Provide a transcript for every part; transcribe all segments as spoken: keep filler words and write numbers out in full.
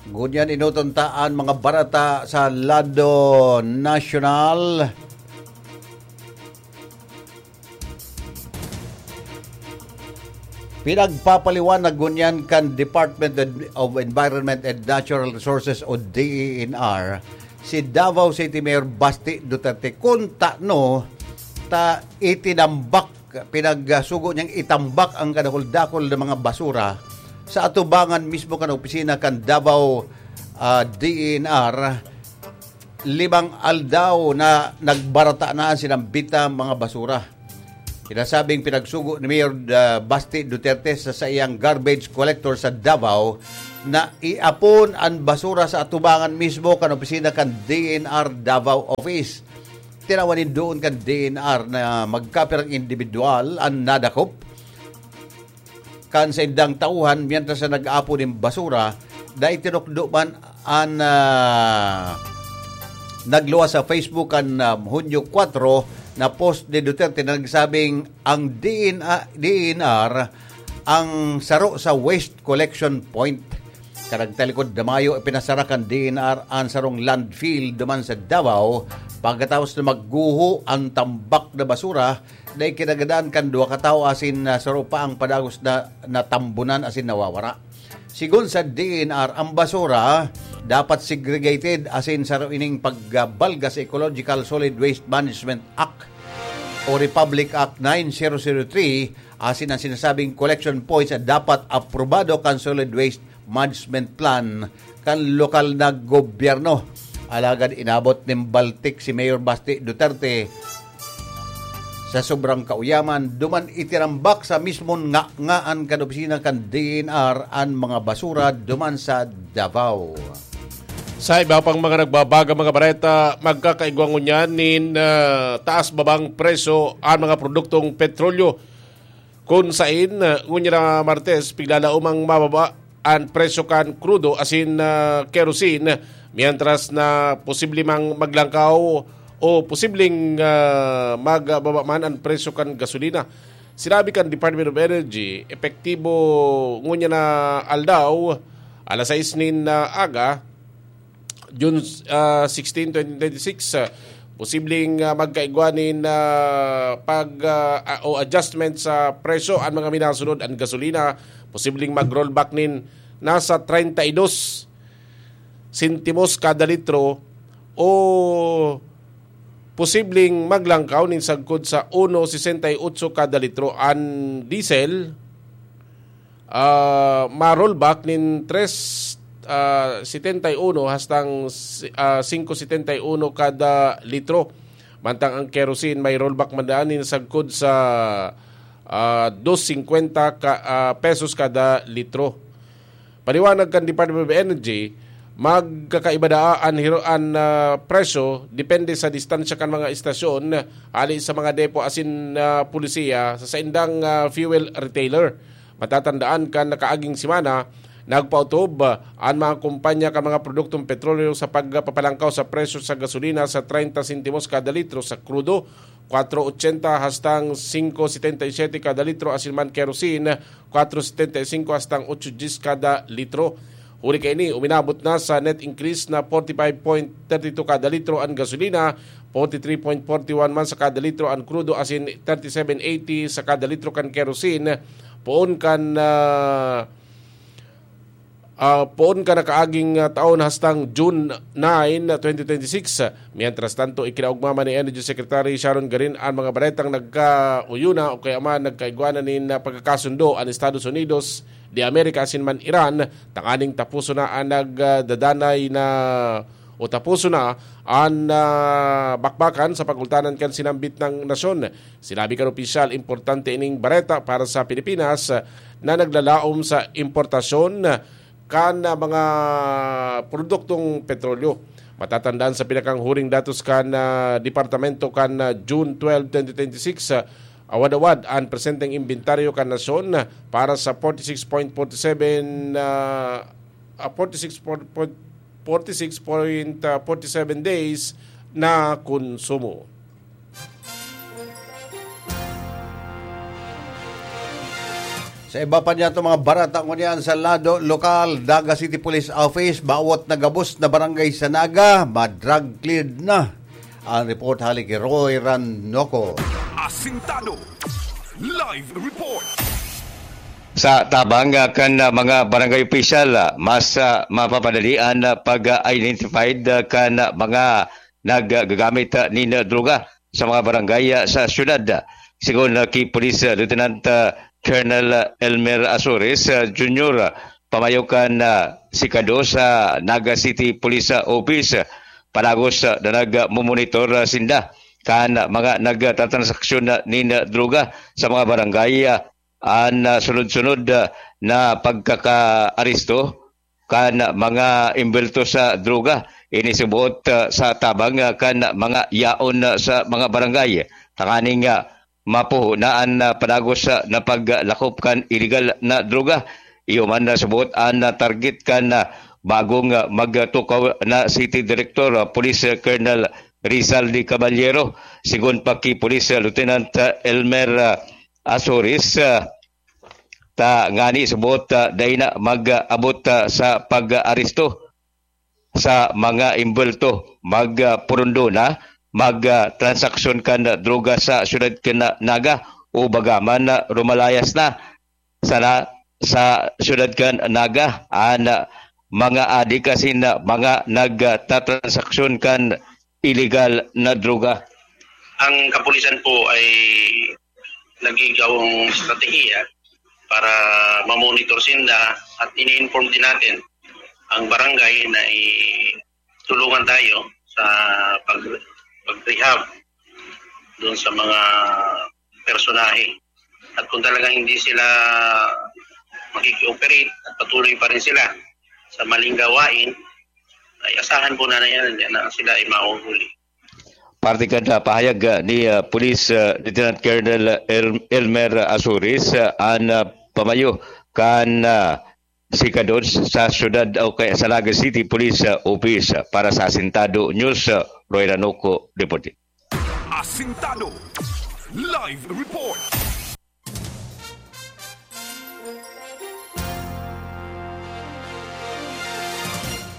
Ngunyan, enoton ta an mga bareta sa lado nasyonal. Pinagpapaliwanag ngunyan kan Department of Environment and Natural Resources o D E N R si Davao City Mayor Basti Duterte kun tano ta itinambak, pinagsugo niyang itambak ang kadakul-dakul na mga basura sa atubangan mismo kan opisina kan Davao, ah, D E N R. Limang aldaw na nagbarata na an sinambit na mga basura. Sinasabing pinagsugo ni Mayor, ah, Basti Duterte sa saiyang garbage collector sa Davao na iapon an basura sa atubangan mismo kan opisina kan D E N R Davao Office. Tinawan nin doon kan D E N R na magkapirang individual an nadakop kan saindang tauhan mientras na nag-aapon nin basura, dai tinukdo man an, ah, nagluwas sa Facebook kan, ah, Hunyo kwatro na post ni Duterte na nagsabing ang D N R, D N R ang saro sa waste collection point. Kan nagtalikod na mayo, ipinasara kan D N R an sarong landfill duman sa Davao pagkatapos na magguho an tambak na basura na ikinagadan kan duwa ka tawo asin, ah, saro pa ang padagos na natambunan asin nawawara. Sigon sa D N R, ang basura dapat segregated asin saro ining pagbalga sa Ecological Solid Waste Management Act o Republic Act nine zero zero three, asin ang sinasabing collection points ay dapat aprobado kan Solid Waste Management Plan kan lokal na gobyerno. Alagad inabot nin baltik si Mayor Basti Duterte sa sobrang kauyaman, duman itinambak sa mismon nga, ngaan kan opisina kan D N R an mga basura duman sa Davao. Sa iba pang mga nagbabaga mga bareta, magkakaigwa ngunyan nin, ah, taas-babang presyo an mga produktong petrolyo. Kun sain, ah, ngunyan na Martes, piglalaomang mababa an presyo kan krudo asin, ah, kerosene, mientras na posible mang maglangkaw o posibleng, ah, magbaba man an presyo kan gasolina. Sinabi kan Department of Energy, epektibo ngunyan na aldaw, alas sais nin, ah, aga, June, ah, sixteen, twenty twenty-six, ah, posibleng, ah, magkaigwa nin, ah, pag, ah, ah, o adjustment sa presyo an mga minasunod, an gasolina, posibleng mag-rollback nin nasa treinta y dos sentimos kada litro o posibleng maglangkaw nin sagkod sa uno sesenta y ocho kada litro. An diesel, ah, ma-rollback nin tres, ah, setenta y uno hastang si-, ah, singko setenta y uno kada litro. Mantang ang kerosene may rollback man daan nin sagkod sa, ah, dos singkwenta ka, ah, pesos kada litro. Paliwanag kan Department of Energy, magkakaiba daa an hiro-, an, ah, presyo depende sa distansya kan mga estasyon, hali sa mga depo asin, ah, pulisiya sa saindang, ah, fuel retailer. Matatandaan kan nakaaging semana, nagpaotob, ah, an mga kumpanya kan mga produktong petrolyo sa pagpapalangkaw sa presyo sa gasolina sa treinta sentimos kada litro sa krudo, kwatro ochenta hastang singko setenta y siete kada litro, asin man kerosene, kwatro setenta y singko hastang otso dyes kada litro. Huli kaini, uminabot na sa net increase na forty-five point thirty-two kada litro an gasolina, forty-three point forty-one man sa kada litro an krudo, asin thirty-seven eighty sa kada litro kan kerosene, poon kan, ah, ah, poon kan nakaaging, ah, taon hastang June nine, twenty twenty-six. Mientras tanto, ikinaogma man ni Energy Secretary Sharon Garin an mga baretang nagkauyona o kaya man nagkaigwanan nin, ah, pagkakasundo an Estados Unidos de America asin man Iran, tanganing tapuson na an nagdadanay na o tapuson na an, ah, bakbakan sa pagultanan kan sinambit na nasyon. Sinabi kan opisyal, importante ining bareta para sa Pilipinas, ah, na naglalaom sa importasyon kan, ah, mga produktong petrolyo. Matatandaan sa pinakanghuring datos kan, ah, departamento kan, ah, June twelve, twenty twenty-six, ah, awad-awad an presenteng imbentaryo kan nasyon para sa forty-six point forty-seven, ah, ah, forty-six point, forty-six point forty-seven days na konsumo. Sa iba pa niyato mga barata ngunyan sa lado lokal, Naga City Police Office, bawat nagabos na barangay sa Naga, ma-drug cleared na. Ang report hali ki Roy Ranoco. Asintado. Live report. Sa tabang, ah, kan, ah, mga barangay opisyal, ah, mas, ah, mapapadalian, ah, pag, ah, identified, ah, kan, ah, mga naggagamit, ah, nin, ah, droga sa mga barangay, ah, sa syudad. Sigon, ah, ki Police, ah, Lieutenant, ah, Colonel, ah, Elmer Azores, ah, Junior, ah, pamayo kan, ah, sikado sa Naga City Police, ah, Office, ah, padagos, ah, na nagmomonitor, ah, sinda kan, ah, mga nagtatransaksyon, ah, nin, ah, droga sa mga barangay, ah, an, ah, sunod-sunod, ah, na pagkakaaresto kan mga embelto sa droga. Ini suboot, ah, sa tabang, ah, kan mga yaon, ah, sa mga barangay. Tanganing, ah, mapuho na an, ah, padagos, ah, na paglakop kan iligal na droga. Iyo man na suboot an, ah, target kan, ah, bagong, ah, magtukaw na City Director, ah, Police, ah, Colonel Rizal de Caballero. Sigon pa ki Police, ah, Lieutenant, ah, Elmer, ah, Azores, ah, ta ngani suboot, ah, dai na mag-abot, ah, sa pag-aresto sa mga embulto, magpurundo na, magtransaksyon kan droga sa siyudad kan Naga o bagaman na rumalayas na sana sa siyudad kan Naga an mga adik asin mga nagtatransaksyon kan iligal na droga. Ang kapulisan po ay nagigawang estratehiya para mamonitor sinda at ini-inform din natin ang barangay na i-, tulungan tayo sa pag-, pag-rehab doon sa mga personahe. At kung talagang hindi sila makiki-operate at patuloy pa rin sila sa maling gawain, ay asahan po na, na yan na sila ay mahuhuli. Parte kan, ah, pahayag, ah, ni, ah, Police, ah, Lieutenant Colonel El-, Elmer Azores, ah, an, ah, pamayo kan, ah, sikadon sa syudad o kaya sa Naga City Police, ah, Office. Para sa Asintado News, ah, Roy Ranuco, reporting. Asintado. Live report.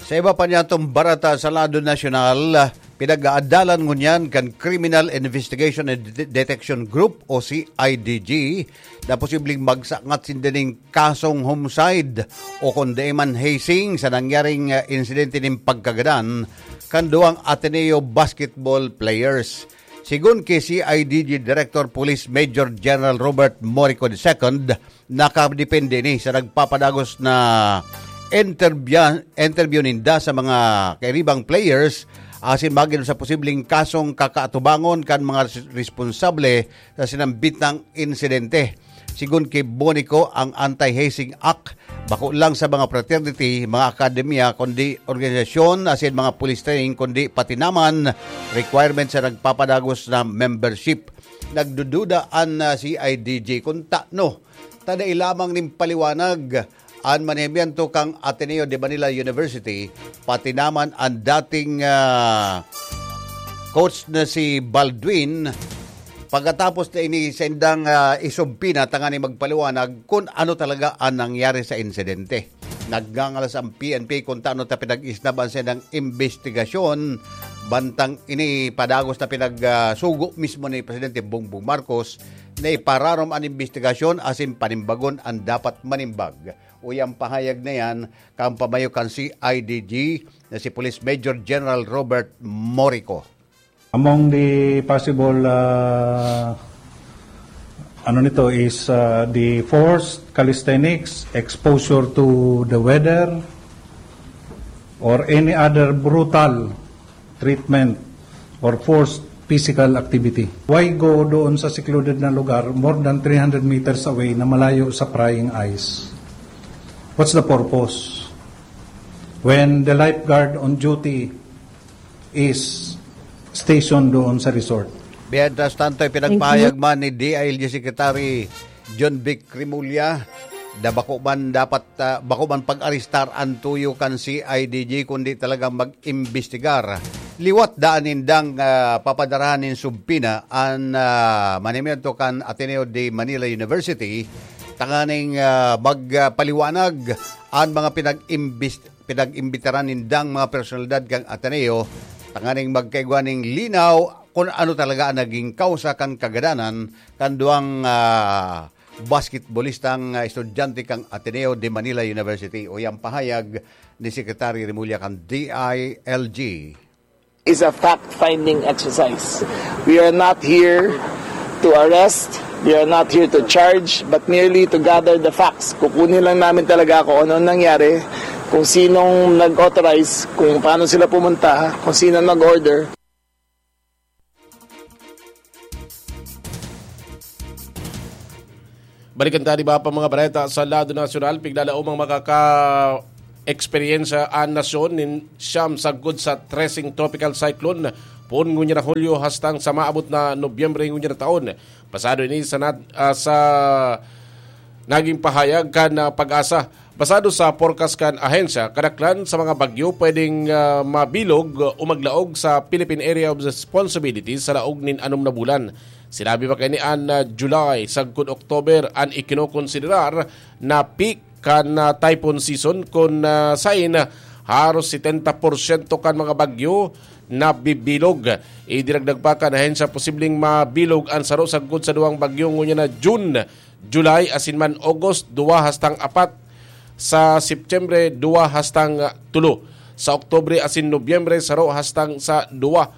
Sa iba pa niyatong barata sa lado nasyonal, pinag-aadalan ngunyan kan Criminal Investigation and De-, Detection Group o C I D G na posibleng magsangat sinda ning kasong homicide o kundi man hazing sa nangyaring, ah, insidente nin pagkagadan kan duwang Ateneo basketball players. Sigon ki C I D G Director Police Major General Robert Morico the second, nakadepende ini sa nagpapadagos na interbya-, interview ninda sa mga kairibang players asin magin sa posibleng kasong kakaatubangon kan mga res-, responsable sa sinambitang insidente. Sigon ki Bonico, ang Anti-Hazing Act bako lang sa mga fraternity, mga akademya, kundi organisasyon asin mga police training, kundi pati naman requirement sa nagpapadagos na membership. Nagdududa an, ah, C I D G kung tano ta dai lamang nin paliwanag an manihimyento kan Ateneo de Manila University, pati naman an dating, ah, coach na si Baldwin. Pagkatapos na ini sa indang, ah, isubpina tanganing magpaliwanag kun ano talaga an nangyari sa insidente. Nagngangalas ang P N P kung tano ta pinag-isnab an saindang imbestigasyon. Bantang ini padagos na pinag, ah, sugo mismo ni Presidente Bongbong Marcos na ipararom an imbestigasyon asin panimbagon an dapat manimbag. Uya an pahayag na yan kan pamayo kan C I D G na si Police Major General Robert Morico. Among the possible, ah, ano nito is, ah, the forced calisthenics, exposure to the weather, or any other brutal treatment or forced physical activity. Why go doon sa secluded na lugar, more than three hundred meters away na malayo sa prying eyes? What's the purpose? When the lifeguard on duty is stationed doon sa resort. Mientras tanto, ipinagpahayag man ni D I L G Secretary John Vic Remulla na bako man dapat, ah, bako man pag-arestar an tuyo kan C I D G, kundi talagang mag-imbestigar. Liwat daan nindang, ah, papadarahan nin subpina an, ah, manihimyento kan Ateneo de Manila University tanganing, ah, magpaliwanag an mga pinag-imbis-, pinag-imbitaran nindang mga personalidad kan Ateneo, tanganing magkaigwa nin linaw kun ano talaga an naging kausa kan kagadanan kan duwang, ah, basketbolistang, ah, estudyante kan Ateneo de Manila University. O yang pahayag ni Secretary Remulla kan D I L G. Is a fact-finding exercise. We are not here to arrest, we are not here to charge, but merely to gather the facts. Kukunin lang namin talaga kung ano nangyari, kung sinong nag-authorize, kung paano sila pumunta, kung sino nag-order. Balikan ta an iba pa mga bareta sa lado nasyonal. Pigla laom ang makaka-eksperyensya an nasyon nin siyam sagkod sa treseng tropical cyclone, poon ngunyan na Hulyo hastang sa maabot na Nobyembre ngunyan na taon. Pasado ini sa nat-, ah, sa naging pahayag kan, ah, PAGASA. Basado sa forecast kan ahensya, kadaklan sa mga bagyo pwedeng, ah, mabilog o maglaog sa Philippine Area of Responsibility sa laog nin anom na bulan. Sinabi pa kaini an, ah, July sagkod October an ikinokonsiderar na peak kan, ah, typhoon season, kun, ah, sain haros setenta porsyento kan mga bagyo nabibilog. Idinagdag pa kan ahensya, posibleng mabilog an saro sagkod sa duwang bagyo ngunyan na June, July asin man August, duwa hastang apat. Sa Septyembre, duwa hastang, ah, tulo. Sa Oktubre asin Nobyembre, saro hastang sa duwa.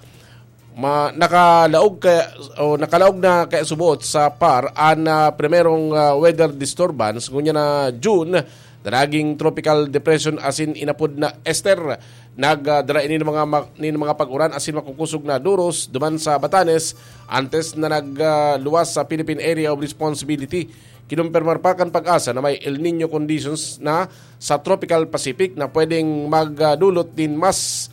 Ma-, nakalaog kaya, o nakalaog na kaya subot sa PAR an, ah, primerong, ah, weather disturbance ngunyan na June na naging tropical depression asin inapod na Esther. Nagdara ini ng mga ma-, nin mga pag-uran asin makukusog na duros duman sa Batanes antes na nagluwas sa Philippine Area of Responsibility. Kinumpirmar pa kan PAGASA na may El Niño conditions na sa Tropical Pacific na pwedeng magdulot nin mas,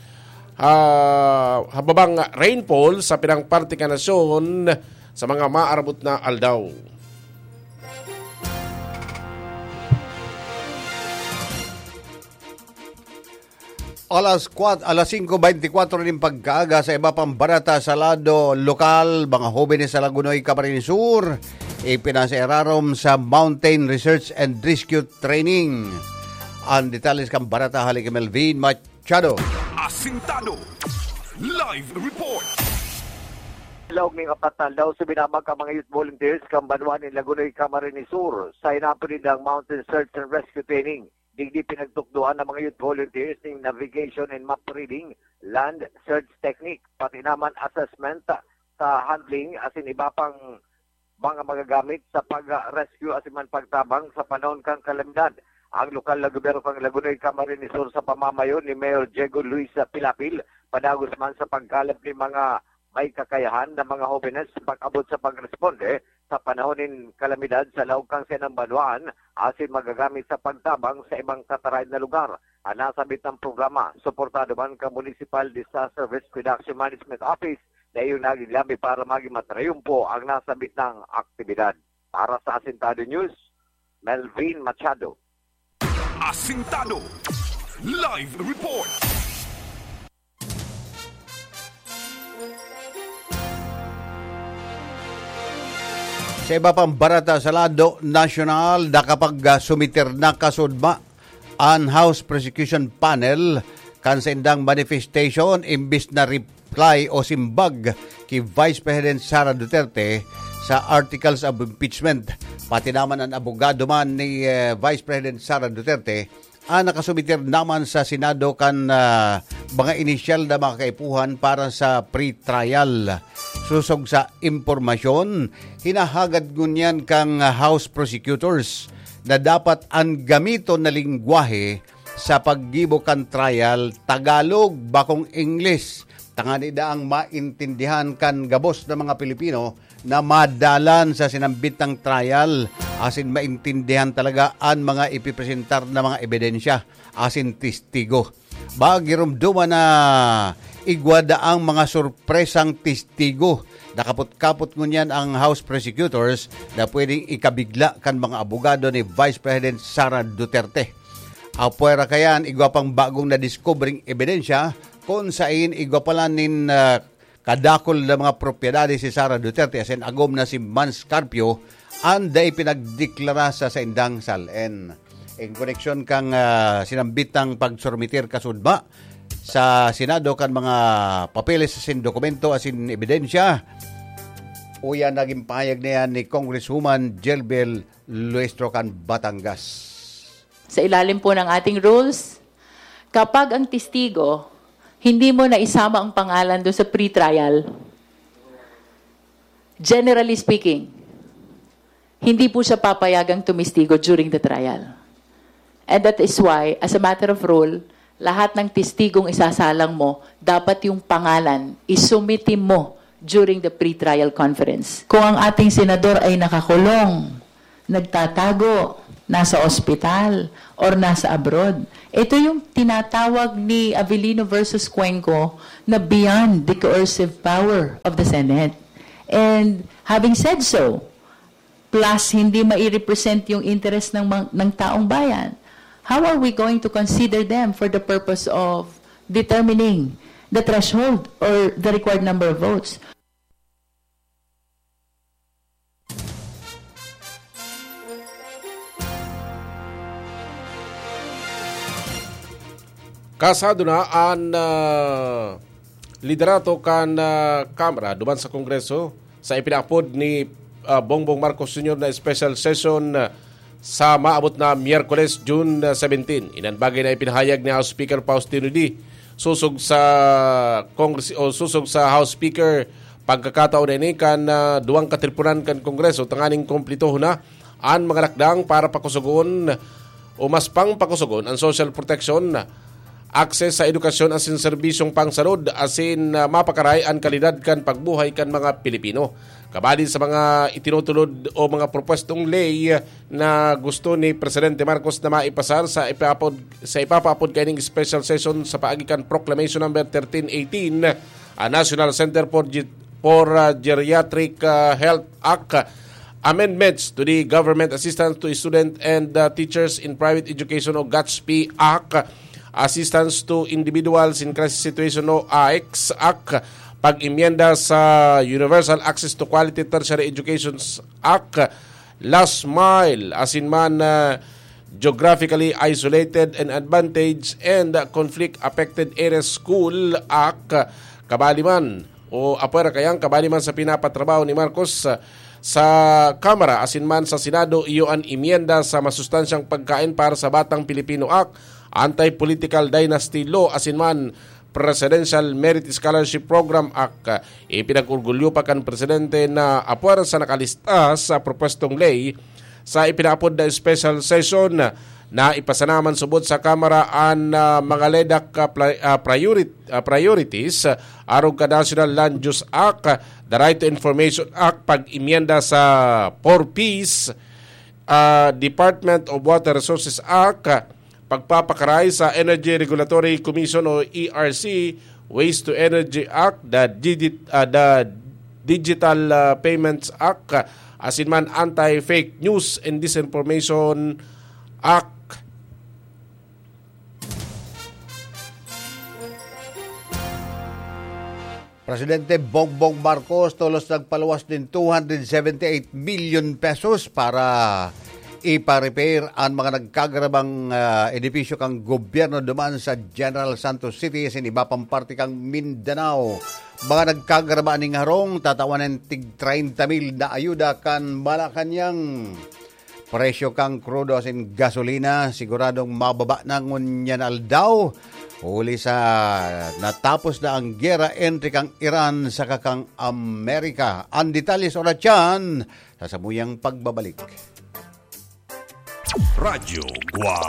ah, hababang rainfall sa pirang parte kan nasyon sa mga maarabot na aldaw. Alas kwat-, alas singko beintikwatro nin pagkaaga. Sa iba pang bareta sa lado lokal, mga hobenes sa Lagonoy, Camarines Sur, ipinasairarom sa Mountain Research and Rescue Training. Ang detalles kan bareta hali ki Melvin Machado. Asintado. Live report. Laog ning apat na aldaw, suminamag ang mga youth volunteers kan banwa nin Lagonoy, Camarines Sur, sa inapod nindang Mountain Search and Rescue Training. Digdi pinagtukdoan ng mga youth volunteers ning navigation and map reading, land search technique, pati naman assessment sa handling asin iba pang mga magagamit sa pag-rescue asin man pagtabang sa panahon kan kalamidad. Ang lokal na gobyerno kan Lagonoy, Camarines Sur, sa pamamayo ni Mayor Diego Luis Pilapil, padagos man sa pagkalap ni mga may kakayahan na mga hobenes pag-abot sa pagresponde sa panahon nin kalamidad sa laog kan saindang banwaan asin magagamit sa pagtabang sa ibang kataraed na lugar. Ang nasabit na programa, suportado man kan Municipal Disaster Risk Reduction Management Office, na iyong naging lambi para maging matrayumpo ang nasabit na aktibidad. Para sa Asintado News, Melvin Machado. Asintado. Live report. Sa iba pang bareta sa lado nasyonal, nakapag-sumiter na kasudma an House Prosecution Panel kan saindang manifestation imbis na reply o simbag ki Vice President Sara Duterte sa articles of impeachment. Pati naman an abogado man ni, eh, Vice President Sara Duterte, ah, nakasumiter naman sa Senado kan, ah, mga inisyal na mga kaipuhan para sa pre-trial. Sosog sa impormasyon, hinahagad ngunyan kan House Prosecutors na dapat an gamiton na lengwahe sa paggibo kan trial, Tagalog, bakong English, tangani daang maintindihan kan gabos na mga Pilipino na madalan sa sinambit na trial asin maintindihan talaga an mga ipipresentar na mga ebidensya asin testigo. Ba, giromdoman na igwa daang mga sorpresang testigo. Nakapot-kapot ngunyan ang House Prosecutors na pwedeng ikabigla kan mga abogado ni Vice President Sara Duterte. Apwera kayan, igwa pang bagong nadiskubreng ebidensya kun sain igwa pala nin, ah, kadakul na mga propiedades si Sara Duterte asin agom na si Mans Carpio an dai pinagdeklara sa saindang SALN. In koneksyon kan, ah, sinambitang pagsurmitir kasudma sa Senado kan mga papeles asin dokumento asin ebidensya, uya nagin pahayag na yan ni Congresswoman Jelbel Luestro kan Batangas. Sa ilalim po ng ating rules, kapag ang testigo, hindi mo na isama ang pangalan doon sa pre-trial, generally speaking, hindi po siya papayagang tumistigo during the trial. And that is why, as a matter of rule, lahat ng testigong isasalang mo, dapat yung pangalan, isumiti mo during the pre-trial conference. Kung ang ating senador ay nakakulong, nagtatago, nasa ospital, or nasa abroad, ito yung tinatawag ni Avelino versus Cuenco na beyond the coercive power of the Senate. And having said so, plus hindi mai-represent yung interest ng mang- ng taong bayan, how are we going to consider them for the purpose of determining the threshold or the required number of votes? Kasado na an, ah, liderato kan, ah, Kamara duman sa Kongreso sa ipinaapod ni, ah, Bongbong Marcos Junior na special session, ah, sa maabot na Miyerkules, June, ah, seventeen. Inan bagay na ipinahayag ni House Speaker Faustino Dy sosog sa Congress o sosog sa House Speaker pagkakataon na ini kan, ah, duwang katripunan kan Kongreso tanganing kumplitohon na an mga lakdang para pakusugon o mas pang pakusugon an social protection, access sa edukasyon asin serbisyong pangsalud asin, ah, mapakaray an kalidad kan pagbuhay kan mga Pilipino. Kabali sa mga itinutulod o mga propwestong ley na gusto ni Presidente Marcos na maipasar sa ipapod, sa ipapaapod kaining special session sa paagi kan Proclamation Number thirteen eighteen, ah, National Center for Ge- for, ah, Geriatric, ah, Health Act, amendments to the Government Assistance to Student and, ah, Teachers in Private Education o GATSPE Act, Assistance to Individuals in Crisis Situation o AICS Act, pag-imyenda sa Universal Access to Quality Tertiary Education Act, Last Mile, asin man, ah, Geographically Isolated and Advantaged and Conflict Affected Areas School Act, kabali man o apwera kayang kabali man sa pinapatrabaho ni Marcos, ah, sa Kamara asin man sa Senado, iyo an imyenda sa masustansyang pagkain para sa batang Pilipino Act, Anti-Political Dynasty Law asin man Presidential Merit Scholarship Program Act. Ipinag-orgulyo pa kan Presidente na apwera sa nakalista sa propwestong ley sa ipinaapod na special session na ipasanaman subot sa Kamara an, ah, mga ledak, ah, pla- ah, priorit- ah, priorities, ah, arog ka National Land Use Act, ah, The Right to Information Act, pag-imyenda sa four Ps, ah, Department of Water Resources Act, ah, pagpapakaray sa Energy Regulatory Commission o E R C, Waste to Energy Act, the, digit, ah, the Digital, ah, Payments Act, ah, asin man Anti-Fake News and Disinformation Act. Presidente Bongbong Marcos tolos nagpaluwas nin two hundred seventy-eight million pesos para ipa-repair an mga nagkagarabang, ah, edipisyo kan gobyerno duman sa General Santos City asin iba pang parte kan Mindanao. Mga nagkagaraba nin harong, tatawan nin tig treinta mil na ayuda kan Malacañang. Presyo kan krudo asin gasolina siguradong mababa na ngunyan aldaw, huli sa natapos na an gera entre kan Iran saka kan Amerika. An detalye sa oras iyan sa samuyang pagbabalik. Radyo Guwang.